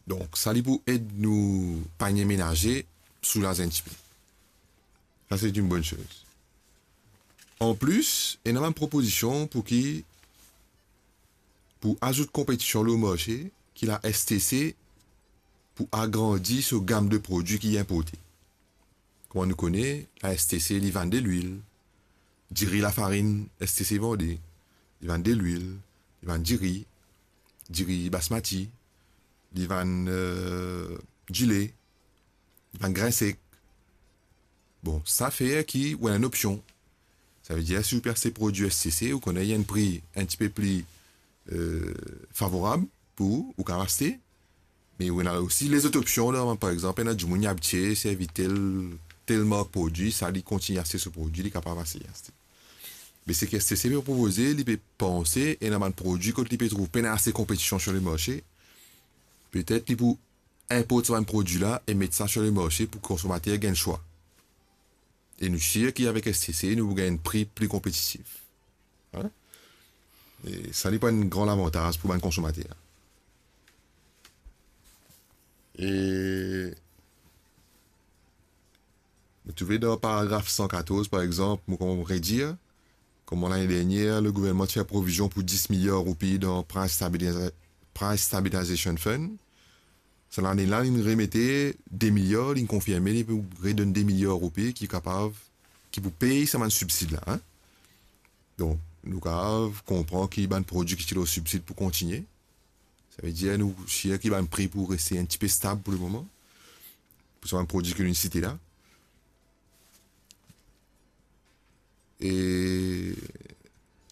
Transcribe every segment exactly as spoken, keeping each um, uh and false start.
Donk, sa li pou ed nou panie menaze soulaz enn tipe. Sa, se enn bonn soz. Anplis, ena bann propozision pou ki, pou azout konpetision lor marse, ki la S T C pou agrandi so gam de prodwi ki li inporte. Kouma nou kone, la S T C, li vann delwil, diri, lafarinn, S T C vande, li vann delwil, li vann diri, diri basmati, li vann, eh, dile, li vann grin sek. Bon, sa fer ki ou ena enn opsion. Savedir, si ou pe aste prodwi S T C, ou kone ena enn pri enn tipe pli, eh, favorab pou ou, ou kapav aste. Me ou ena osi lezot opsion la, par exanp, ena dimoun li abitie servi tel, tel mark prodwi, sa li kontign aste so prodwi, li kapav aste, aste. Me seki S T C pe propoze, li pe panse, ena bann prodwi kot li pe trouv pena ase konpetision sir le marse, petet li pou inport sa bann prodwi la e met sa sir le marse pou konsomater gagn swa. E nou sir ki avek S T C, nou pou gagn enn pri pli konpetitif. Hein? E sa li pou enn gran lavantaz pou bann konsomater. E nou trouve dan paragraf san katorz, par exanp, mo kouma redir, kouma lane dernier, le gouvernman ti fer provizion pou dis miliar roupi dan Price Stabiliza-, Price Stabilization Fund. Sa lane la, li remete de miliar, li konfirme, li pou redonn de miliar roupi ki kapav, ki pou pey sa bann sibsid la, hein. Donk, nou kapav konpran ki bann prodwi ki ti lor sibsid pou kontigne. Savedir, nou sir ki bann pri pou reste enn tipe stab pou lemoman, pou sa bann prodwi ki nou site la. E,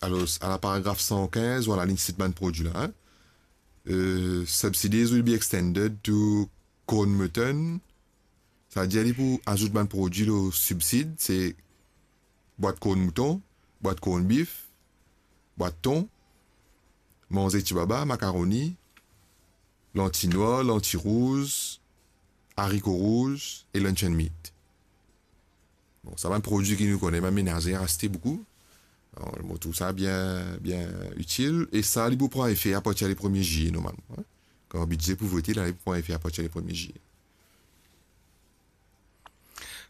alor, a la paragraf san kinz, vwala, li sit bann prodwi la, hein. Eh, subsidies will be extended to corn mutton. Savedir li pou azout bann prodwi lor sibsid, se bwat korn mouton, bwat korn bif, bwat ton, manze tibaba, makaroni, lanti nwar, lanti rouz, ariko rouz e luncheon meat. Bon, sa bann prodwi ki nou kone, bann menazer aste boukou. Alor, mo trouv sa bien, bien itil. E sa, li pou pran efe apartir le premie zilie, normalman, hein. Kan bidze pou vote, la, li pou pran efe apartir le premie zilie.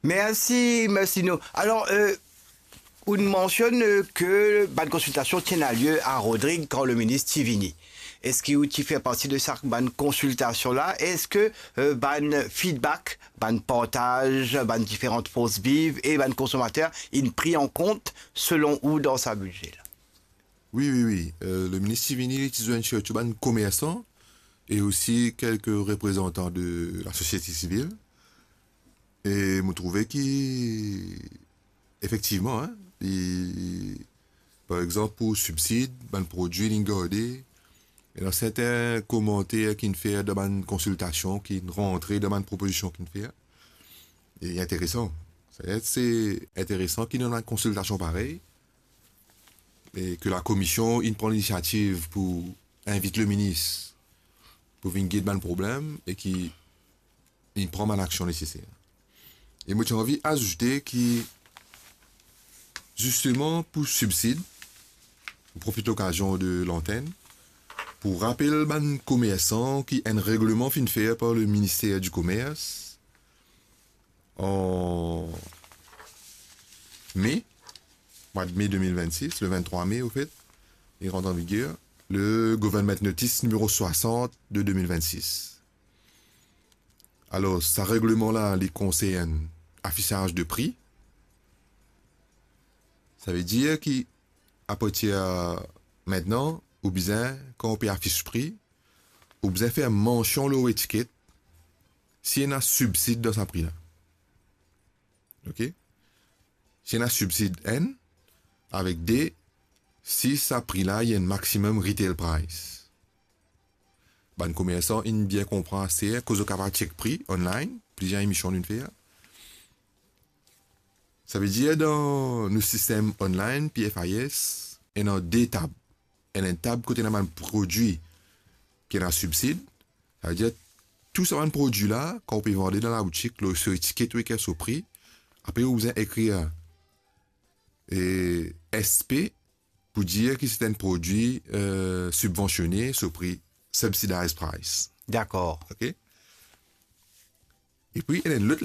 Mersi, mersi nou. Alor, eh, ou mansionn, eh, ke bann konsiltasion ti ena lie a Rodrig kan le minis ti vini. Eski ou ti fer parti de sa bann konsiltasion la? Eski, eh, bann feedback, bann partaz, bann diferan fors viv e bann konsomater inn pri an kont selon ou dan sa bidze la? Wi, wi, wi. Eh, le minis ti vini, li ti zwenn sirtou bann komersan e osi kelke reprezantan de lasosiete sivil. E mo trouve ki, efektivman, hein, li, par exanp, pou sibsid, bann prodwi li garde, ena sertin komanter ki'nn fer dan bann konsiltasion, ki'nn rantre dan bann propozision ki'nn fer. E interesan. Savedir se interesan ki dan bann konsiltasion parey, e ke lakomision inn pran linisiativ pou invit le minis pou vinn get bann problem e ki inn pran bann aksion neseser. E mo ti anvi azoute ki, zisteman, pou sibsid, mo profit lokazion de lantenn pou rapel bann komersan ki enn regleman finn fer par le Ministère du Commerce an me, mwa de me de mil vennsis, le venntrwa me, anfet, li rant an viger, le Government Notice nimero swasant de de mil vennsis. Alor, sa regleman la, li konsern afisaz de pri. Savedir ki, apartir mintnan, ou bizin, kan ou pe afis pri, ou bizin fer mansion lor etiket si ena sibsid dan sa pri la. Ok? Si ena sibsid, enn, avek de, si sa pri la, li enn maximum retail price. Bann komersan inn bien konpran aster, koz zot kapav check pri online, plizier emision nou'nn fer. Savedir dan nou sistem online, P F I S, ena de tab. Ena enn tab kot ena bann prodwi ki ena sibsid. Savedir, tou sa bann prodwi la, kan ou pe vande dan laboutik, lor so etiket ou ekrir so pri, apre ou bizin ekrir, eh, S P, pou dir ki se enn prodwi, eh, sibvansione, so pri subsidized price. Dakor. Ok? Epi, ena enn lot